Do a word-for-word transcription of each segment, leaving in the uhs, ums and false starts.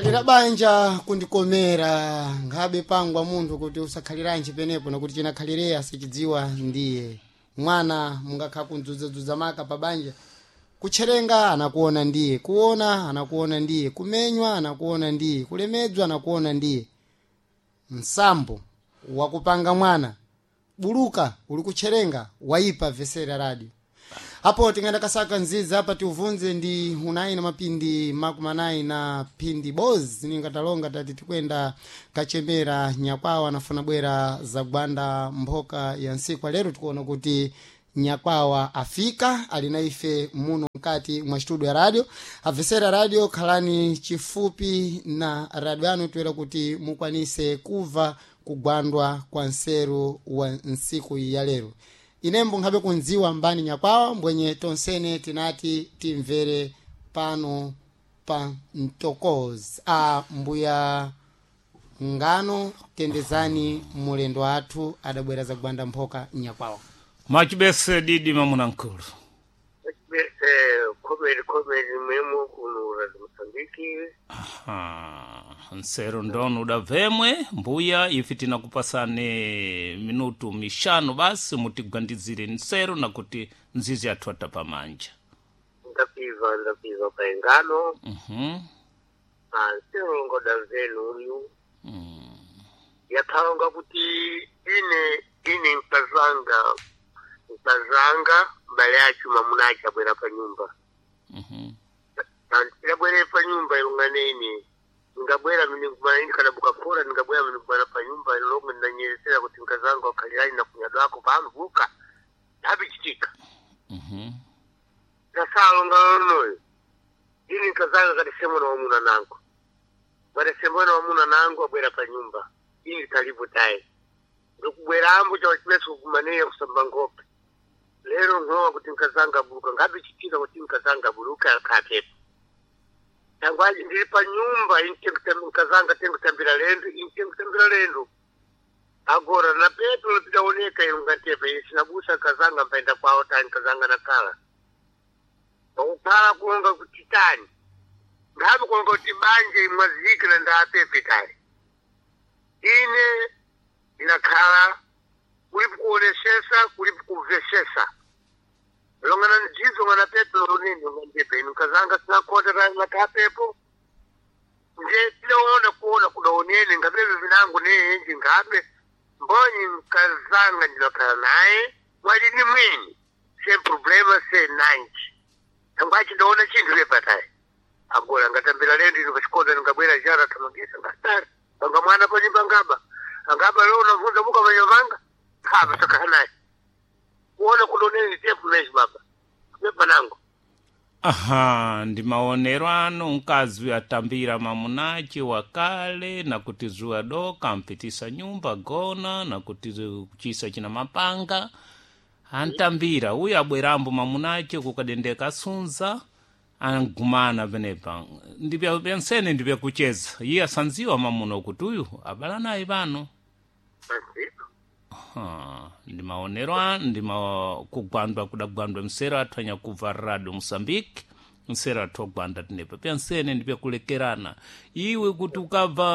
Kukhalira banja kundikomera nkhabe pangwa munthu kuti usakhaliranji penepo nakuti chinakhalireya sichidziwa ndiye mwana mungakha kundzuzadzuza maka pa banja kutcherenga anakuona ndiye kuona anakuona ndiye kumenywa anakuona ndiye kulemedzwa anakuona ndiye msambo wakupanga mwana buluka uli kutcherenga waipa vesera radio apo tingenda kasaka nziza apa tiuvunze ndi unayi na mapindi makumi anayi na phindi bozi ningatalonga tati tikwenda kachemera nyakwawa anafuna bwera zagwanda mphoka ya nsikwa lero tikuona kuti nyakwawa afika ali na ife muno mkati mwa studio ya radio abvesera radio khalani chifupi na radio yanu toera kuti mukwanise kuva kugwandwa kwa nseru wa nsiku ya lero inembo nkhabe kundziwa mbani nyakwawa mbwenye tonsene tinati timvere pano pa mtokozi a mbuya ngano tendezani mulendo athu adabwera zagwanda mphoka nyakwawa Mwachibese didi mamuna nkulu. Bese khomeri khomeri mwemo kuno radio Mozambique. Aha, nsero ndono udavemwe mbuya ife tinakupasane minutu mishanu basi mutigwandizire nsero nakuti nzizi yathu atapamanja. Ndapiva ndapiva paengano. Mhm. Ah, nsero ngoda mvenu uyu. Mm. Yakhalonga kuti ine ine mkazanga mkazanga mbale acho mamuna acho abwera pa nyumba. Mhm. Andabwere pa nyumba ilungane ine. Ngabwera mini kumana ine kana bukafora ngabwera mini kumana pa nyumba ilongo ndanyelesera kuti mkazanga wakhalirani na kunyadwako pamvuka. Habichitika. Mhm. Tasalonga lonoyo. Ini nkazanga kati semona wamuna nangu. Bade semona wamuna nangu abwera pa nyumba. Ini kalibu tayi. Ndikubwera ambu cha chimeso kumaneya kusamba ngope. Lero ngowa kuti nkazanga buluka ngabe chitika kuti nkazanga buluka kapepo. Tangwaji ndili pa nyumba inte nkazanga tengutambira lendo inte kutambira lendo. Agora na pepo lopitaoneka ilunga tepe isinabusa nkazanga mpaenda kwawo tani nkazanga nakala. Pakukhala kuonga kuti tani. Ngabe kuonga kuti banje imwazike na ndapepe tani. Ine ndinakhala kulipo kuonesesa kulipo kumvesesa. Longana njizo ngana pepe lonene ngandepe inu nkazanga sinakota tani nakapepo. Nje tilaona kuona kudaonene ngapepe vinangu neenji ngabe mbonyi nkazanga ndinakhala naye mwalini mwini sem problema se nanji. Tangwachi ndaona chinthu lepatayi. Agora ngatambira lendo ino pachikonda ndingabwera jara tamangisa ngatari. Panga mwana pa nyumba ngaba. Angaba leo unavunza buka manyamanga. Kaba takahanayi. Kuona kudoneni tepu meshi baba. Pepa nangu. Aha, ndi maonero ano mkazi atambira mamunache wakale nakuti zuwa doka ampitisa nyumba gona nakuti kuchisa china mapanga antambira uyu abwerambo mamunache kukadendeka asunza angumana penepa ndipya pensene ndipyakucheza iye asanziwa mamuno kuti uyu abala naye pano. Basi. Aha, ndi maonero a ndi ma kugwandwa kudagwandwa msero athu anyakubva radio Mosambike msero athu ogwanda tinepa pyansene ndipyakulekerana iwe kuti ukabva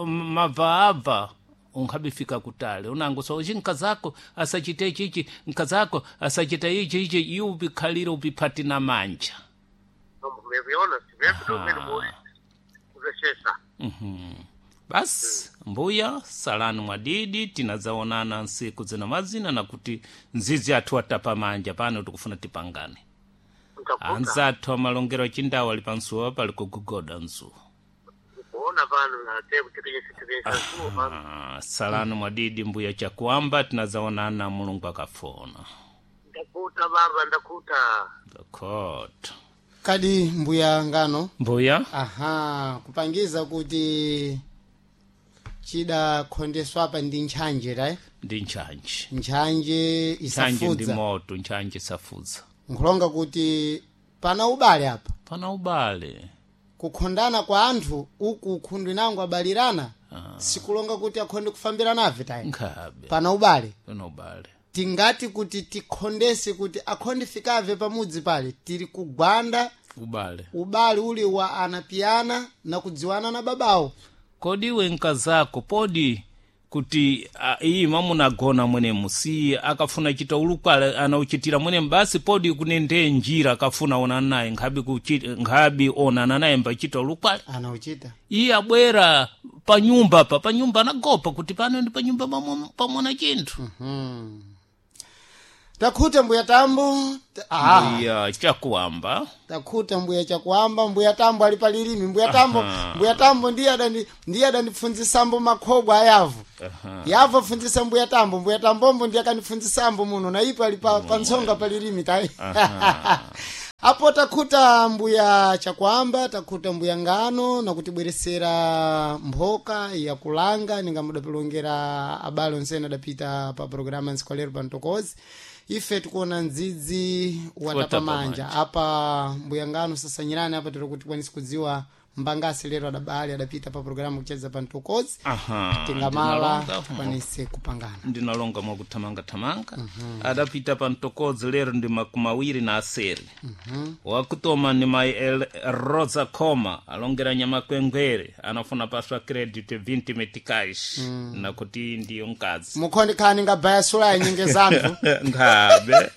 mabva abva unkhabifika kutale unango so ichi nkazako asachite chichi nkazako asachita ichi ichi iwe upikhalire upiphati na manja. Mmeviona sivepo ndo mimi kuvesesa. Mhm. Basi mbuya salani mwadidi tinadzaonana nsiku zina mazina nakuti nzizi athu atapa manja pano tikufuna tipangane. Ntakuta. Anzathu amalongero achindawo ali pansuwa pali kugugoda mzuwa. Kuona pano na tepu tikenye tikenye zuwa pano. Ah, salani mwadidi mbuya chakuamba tinadzaonana mulungu akafuna. Ndakuta baba ndakuta. Dakota. Kadi mbuya ngano Mbuya aha kupangiza kuti chidakhondeswa apa ndi ntchanje tayi ndi ntchanje. ntchanje Ntchanje ndi isafudza moto ntchanje isafudza. nkhulonga kuti pana ubale apa Pana ubale. kukhondana kwa anthu uku khundu inango abalirana sikulonga kuti akhonde kufambirana ave tayi Nkhabe. pana ubale Pana ubale. tingati kuti tikhondese kuti akhonde fikave pamudzi pale tili kugwanda Ubale. Ubale uli wa anapiana na kudziwana na babawo. Kodi iwe nkazako podi kuti uh, iyi mwamuna agona mwenemu si akafuna chita ulukwale anauchitira mwenemu basi podi kunende njira akafuna onana naye nkhabi kuchi, nkhabi onana naye mbachita ulukwale Anauchita. Iye abwera panyumba pa panyumba anagopa kuti pano ndi panyumba pamwe- pamwana chinthu. Hmm. Takhuta mbuya Tambo. Ta- ah. Mbuya Chakuamba. Takhuta mbuya Chakuamba. Mbuya Tambo ali palilimi. Mbuya Tambo. Aha. Mbuya Tambo ndiye adandi ndiye adandipfunzisambo makhobwa ayavu. Aha. Yavo apfunzisa mbuya Tambo. Mbuya Tambombo ndiye akanipfunzisambo muno na ipo ali pa, pa ntsonga palilimi tayi. Apo takhuta mbuya Chakuamba, takhuta mbuya Ngano nakutibweresera mphoka ya kulanga ningamudapilongera abale onsene adapita pa programa nsikolero pa Ntokozi. Ife tikuona ndzidzi watapamanja apa. Mbuya Ngano, sasanyirani apa tiri kuti tikwanise kudziwa mbangasi lero adabale adapita pa programa kucheza pa Ntokozi. Aha. Tingamala ndinalonga. tikwanise kupangana. Ndinalonga mwakuthamangathamanga. Adapita pa Mtokozi lero ndi makumi awiri na aseri. Wakutoma ni mai El Rosa Coma, alongera Nyamakwengwere, anafuna paswa credit vinte meticais nakuti ndiyo mkazi. Mukhondi khani ngabaya sula ya nyinge zanthu. Nkhabe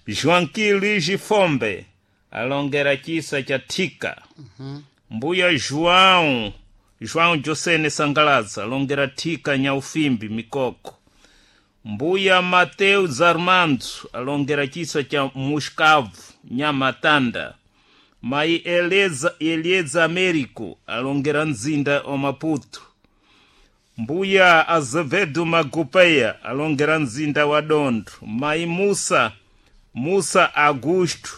Joaquim Luigi Fombe alongera chisa cha Thika. Mbuya João João Josene Sangalaza alongera Thika Nyaufimbi Mikoko. Mbuya Mateus Armando alongera chisa cha Muscavu Nyamatanda. Mai Eleza, Elieza Américo alongera Nzinda o Maputo. Mbuya Azevedo Magupeia alongera Nzinda wa Dondo. Mai Musa Musa Augusto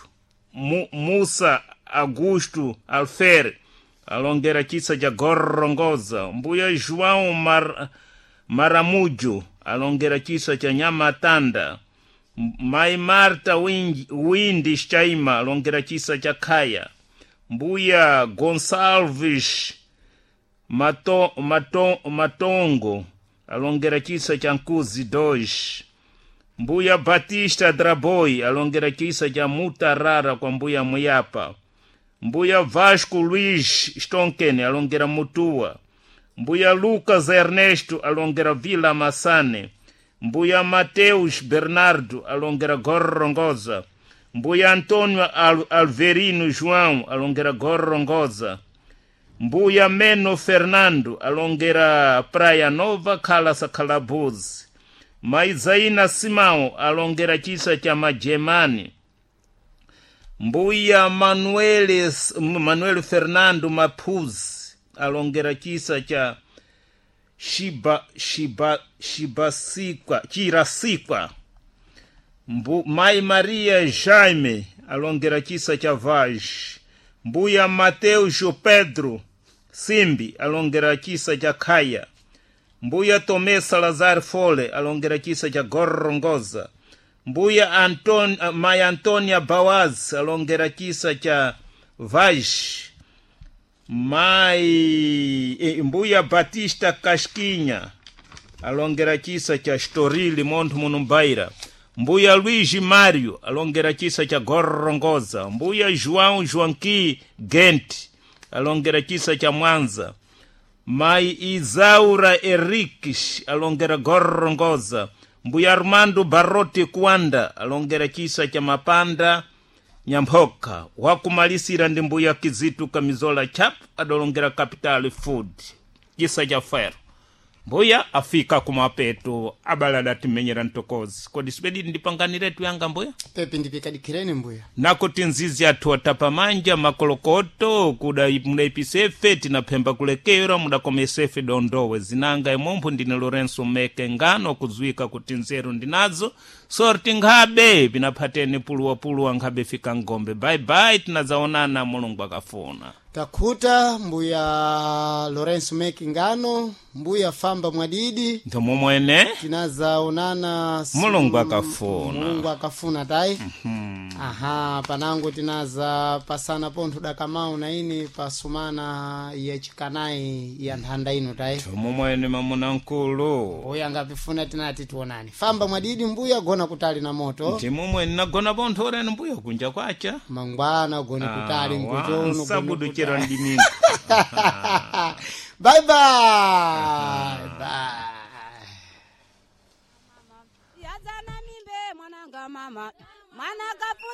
Mu, Musa Augusto Alfer alongera chisa cha Gorongoza. Mbuya João Mar, Maramujo alongera chisa cha Nyamatanda. Mai Marta Windi, Windi Chaima alongera chisa cha Khaya. Mbuya Gonçalves Mato, Mato, Matongo alongera chisa cha Nkuzi dois. Mbuya Batista Draboi alongera chisa cha Mutarara kwa Mbuya Muyapa. Mbuya Vasco Luiz Stonken alongera Mutua. Mbuya Lucas Ernesto alongera Vila Massane. Mbuya Mateus Bernardo alongera Gorongosa. Mbuya Antônio Al Alverino João alongera Gorongosa. Mbuya Meno Fernando alongera Praia Nova Kala Sakalabuzi. Maizaina Simão alongera chisa cha Majemani. Mbuya Manuel, Manuel Fernando Mapuzi alongera chisa cha Shiba, Shiba, Shibasikwa, Chirasikwa. Mbu, Mai Maria Jaime alongera chisa cha Vaz. Mbuya Mateus Pedro Simbi alongera chisa cha Khaya. Mbuya Tomé Salazar Fole alongera chisa cha Gorongosa. Mbuya Anton, Mai Antonia Bawaz alongera chisa cha Vaz. Mai eh, Mbuya Batista Casquinha alongera chisa cha Estoril Monte Munumbaira. Mbuya Luigi Mário alongera chisa cha Gorongosa. Mbuya João Joaquim Gente alongera chisa cha Mwanza. Mai Isaura Henriques alongera Gorongosa. Mbuya Armando Barrote Kwanda alongera chisa cha Mapanda Nyamphoka. Wakumalisira ndi Mbuya Kizitu Kamizola Chap adolongera Capital Food chisa cha Fero. Mbuya afika kumapeto abala adatimenyera Ntokozi. Kodi sipedi ndipanganiretu yanga mbuya? Pepi ndipikadikireni mbuya. Nakuti nzizi athu atapamanja makolokoto kuda mudaipisefe tinaphemba kulekera mudakomesefe dondowe zinanga imombo. Ndine Lorenso Meke Ngano kudziwika kuti nzeru ndinazo sorti nkhabe pinaphateni puluwapuluwa nkhabe fika ngombe. Baibai, tinadzaonana Mulungu akafuna. Takhuta mbuya Lorenzo Mekingano, mbuya Famba Mwadidi, Ndomomwene. Tinazaonana si- Mulungu akafuna. Mulungu akafuna tayi. Aha, panango tinaza pasana pontho dakamau na ini pasumana yachikanayi ya nthanda ino tayi. Ndomomwene mamuna nkulu. Mbuya angapifuna tinati tionani. Famba Mwadidi, mbuya gona kutali na moto. Ndimomwene nagona pontho oreni mbuya kunja kwacha. Mangwana gone kutali nkuchono gone Sabudu chero kutali. ndiminga. Bye bye. Bye. Yazana mimbe mwananga mama mwana kafunda.